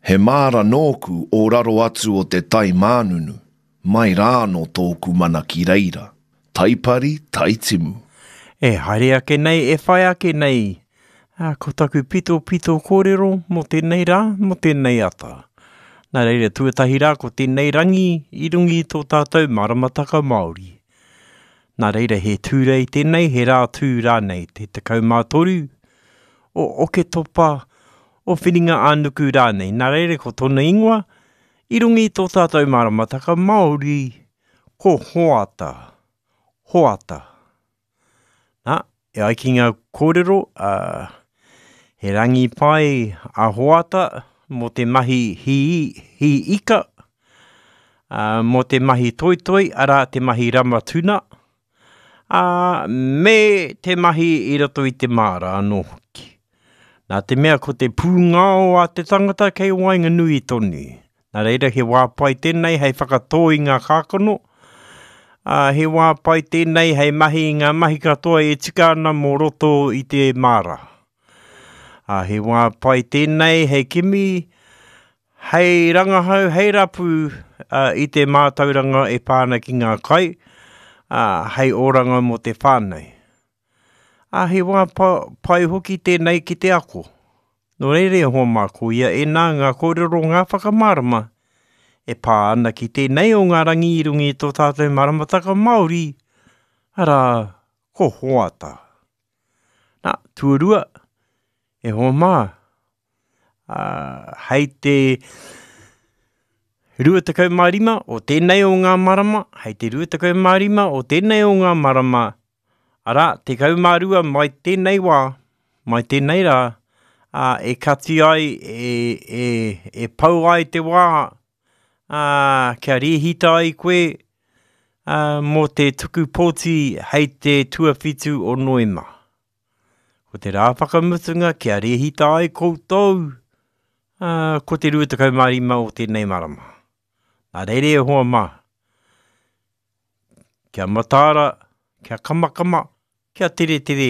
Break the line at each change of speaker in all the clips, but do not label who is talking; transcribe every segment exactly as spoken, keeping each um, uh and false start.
He māra nōku o raro atu o te tai mānunu, mai rā anō tōku mana ki reira. Taipari, taitimu.
E haere ake nei, e whai ake nei, ā, ko taku pitopito kōrero mō tēnei rā, mō tēnei ata. Nā reira, tuatahi rā ko tēnei rangi i runga i tō tātou maramataka Māori. Nā reira, he Tūrei tēnei, he rā tū rānei, te tekau mā toru o Oketopa, o Whiringa-ā-nuku rānei. Nā reira, ko tōna ingoa, i runga i tō tātou maramataka Māori, ko Hoata. Hoata. Nā, e ai ki ngā kōrero, ā, he rangi pai a Hoata mō te mahi hī, hī ika, ā, mō te mahi toitoi, arā, te mahi rama tuna, ā, me te mahi i roto i te māra anō hoki. Nā te mea ko te pūngao a te tangata kei waenganui tonu. Nā reira he wā pai tēnei hei whakatō i ngā kākano, ā, he wā pai tēnei hei mahi i ngā mahi katoa e tika ana mō roto i te māra. Ā, he wā pai tēnei hei kimi, hei rangahau, hei rapu uh, i te mātauranga e pā ana ki ngā kai, ā, hei oranga mō te whānau. Ā, he wā pa, pai hoki tēnei ki te ako. Nō reira e hoa mā, ko ia ēnā ngā kōrero ngā whakamārama e pā ana ki tēnei o ngā rangi i runga i tō tātou maramataka Māori, arā, ko Hoata. Nā, tuarua, e hoa mā, ā, hei te rua tekau mā rima o tēnei o ngā marama, hei te rua tekau mā rima o tēnei o ngā marama, arā, tekau mā rua mai tēnei wā, mai tēnei rā, ā, e kati ai, e, e, e pau ai te wā, ā, kia rēhita ai koe, ā, mō te tuku pōti hei te tuawhitu o Noema. Ko te rā whakamutunga kia rēhita ai koutou, ā, ko te rua tekau mā rima o tēnei marama. Nā reira e hoa mā, kia mataara, kia kamakama, kia teretere,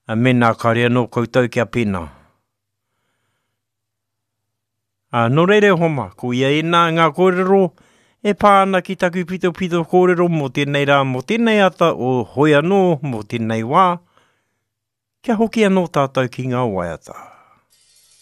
ā, mēnā kāore anō koutou kia pēnā. Ā, nō reira e hoa mā, ko ia ēnā ngā kōrero e pā ana ki taku pitopito kōrero mō tēnei rā, mō tēnei ata o hoi anō mō tēnei wā, kia hoki anō tātou ki ngā waiata.